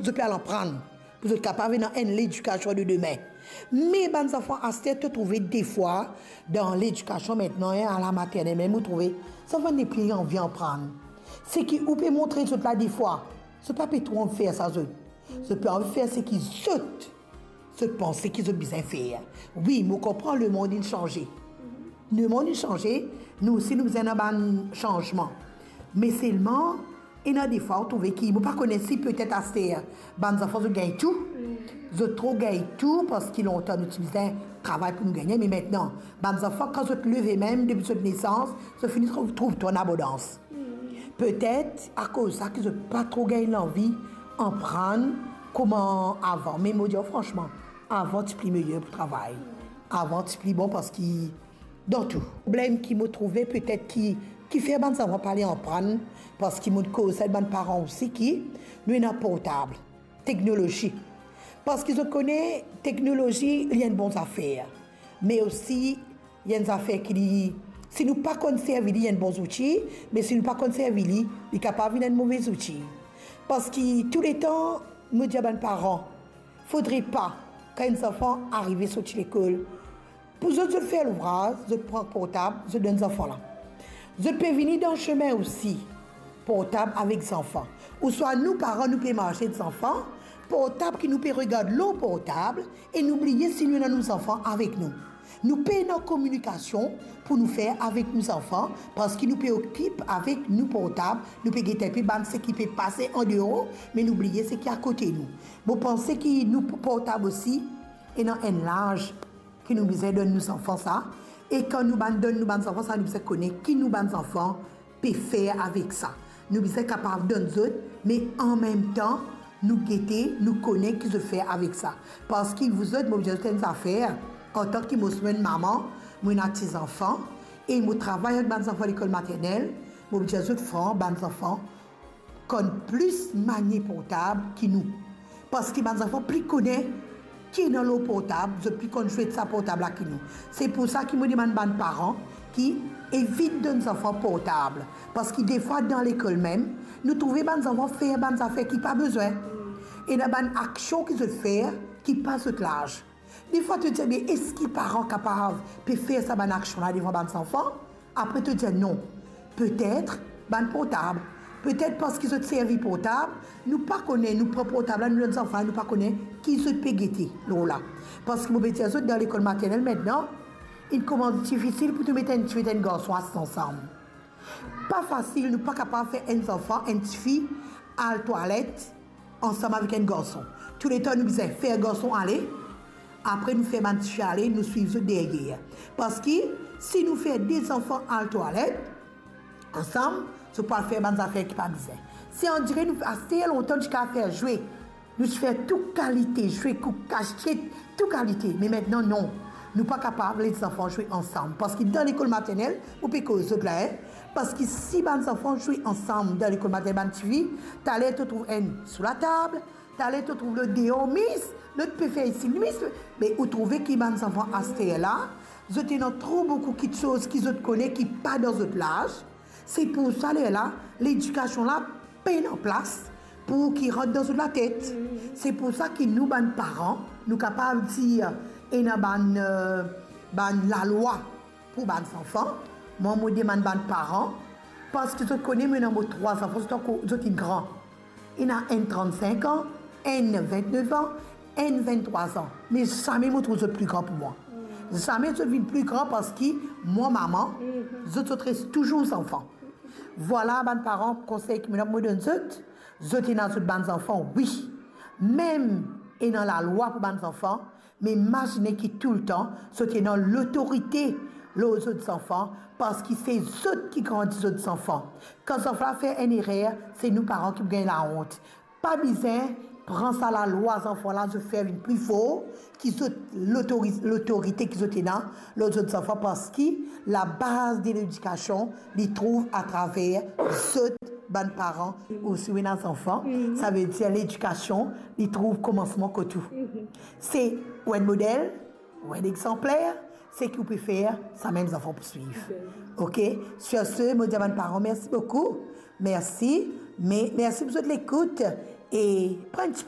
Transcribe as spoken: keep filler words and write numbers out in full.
zot pe al aprann, pou zot kapav ena enn ledikasion de demin. Me bann zanfan aster, to trouve defwa, dan ledikasion aster, a la maternel mem, ou trouve zanfan nepli anvi aprann. Seki ou pe montre zot la defwa, zot pa pe tro anvi fer sa zot. Zot pe anvi fer seki zot, zot panse ki zot bizin fer. Wi, mo konpran lemond inn sanze. Lemond inn sanze, nou osi nou bizin ena bann sanzman. Me selman, ena defwa ou trouve ki, mo pa kone si petet aster, bann zanfan zot gagn tou. Zot tro gagn tou, parski lontan nou ti bizin travay pou nou gagne, me aster, bann zanfan, kan zot leve mem, depi zot nesans, zot fini trouv, trouv tou an abondans. Petet akoz sa ki zot pa tro gagn lanvi aprann kouma avan. Me mo dir fransman, avan ti pli meyer pou travay. Avan ti pli bon parski dan tou. Problem ki mo trouve petet ki, ki fer bann zanfan pa ale aprann, parski mo koz sa bann paran osi ki nou ena portab, teknolozi. Parski zot kone teknolozi, li enn bon zafer. Me osi, li enn zafer ki li, si nou pa konn servi li, li enn bon zouti, me si nou pa konn servi li, li kapav vinn enn move zouti. Parski touletan, mo dir bann paran, fodre pa, kan enn zanfan arive sorti lekol, pou zot, zot fer louvraz, zot pran portab, zot donn zanfan la. Zot pe vini dan sime osi, portab avek zanfan. Ouswa nou paran, nou pe marse ek zanfan, portab ki nou pe regard lor portab, e nou bliye si nou ena nou zanfan avek nou. Nou pena kominikasion pou nou fer avek nou zanfan, parski nou pe okip avek nou portab, nou pe gete enpe bann seki pe pase andeor, me nou bliye seki akote nou. Mo panse ki nou portab osi, ena enn laz ki nou bizin donn nou zanfan sa, e kan nou bann donn nou bann zanfan sa, nou bizin kone ki nou bann zanfan pe fer avek sa. Nou bizin kapav donn zot, me anmemtan, nou gete, nou kone ki zot fer avek sa. Parski zot, mo dir zot enn zafer, antan ki mo, mo enn mama, mo ena ti zanfan, e mo travay avek bann zanfan lekol maternel, mo dir zot fran, bann zanfan konn plis manie portab ki nou. Parski bann zanfan pli kone ki ena lor portab, zot pli konn zwe sa portab la ki nou. Se pou sa ki mo demann bann paran ki evit donn zanfan portab. Parski defwa dan lekol mem, nou trouve bann zanfan fer bann zafer ki pa bizin. Ena bann aksion ki zot fer ki pa zot laz. Defwa to dir, "Me eski paran kapav pe fer sa bann aksion la devan bann zanfan?" Apre to dir non. Petet bann portab. Petet parski zot servi portab, nou pa kone, nou pran portab la, nou donn zanfan, nou pa kone ki zot pe gete lor la. Parski mo pe dir zot, dan lekol maternel aster, inn koumans difisil pou to met enn tifi ek enn garson asiz ansam. Pa fasil, nou pa kapav fer enn zanfan, enn tifi al twalet ansam avek enn garson. Touletan nou bizin fer garson ale, apre nou fer bann tifi ale, nou swiv zot deryer. Parski si nou fer de zanfan al twalet ansam, zot pou al fer bann zafer ki pa bizin. Se andire nou aster, lontan nou ti kapav fer zwe. Nou ti fer tou kalite zwe, kou kasiet, tou kalite. Me aster non. Nou pa kapav les zanfan zwe ansam. Parski dan lekol maternel, mo pe koz zot la, en. Parski si bann zanfan zwe ansam dan lekol maternel, bann tifi, taler to trouv enn sou latab, taler to trouv lot deor, mis, lot pe fer isi, mis, me ou trouve ki bann zanfan aster la, zot ena tro boukou kiksoz ki zot kone ki pa dan zot laz. Se pou sa lerla, ledikasion la pena plas pou ki rant dan zot latet. Se pou sa ki nou bann paran, nou kapav dir ena bann, eh, bann lalwa pou bann zanfan. Mwa, mo demann bann paran, parski zot kone, mo ena mo trwa zanfan, zot ankor, zot inn gran. Ena enn trant-sink an, enn vintnef an, enn vinttrwa an. Me zame mo trouv zot pli gran pou mwa. Zame zot vinn pli gran parski mwa mama, zot, zot res touzour zanfan. Vwala bann paran, konsey ki mo, mo donn zot. Zot ena zot bann zanfan, wi. Mem ena lalwa pou bann zanfan, me imazine ki toultan zot ena lotorite lor zot zanfan, parski se zot ki grandi zot zanfan. Kan zanfan la fer enn erer, se nou paran ki pou gagn laont. Pa bizin pran sa lalwa zanfan la, zot fer vinn pli for ki zot lotori-, lotorite ki zot ena lor zot zanfan, parski labaz de ledikasion, li trouv atraver zot bann paran. Ou si ou ena zanfan, savedir ledikasion, li trouv komansman kot ou. Se ou enn model, ou enn exanpler, seki ou pe fer, samem zanfan pou swiv. Ok? Sur ce, mo dir bann paran, mersi boukou. Mersi. Me mersi pou zot lekout. E pran enn ti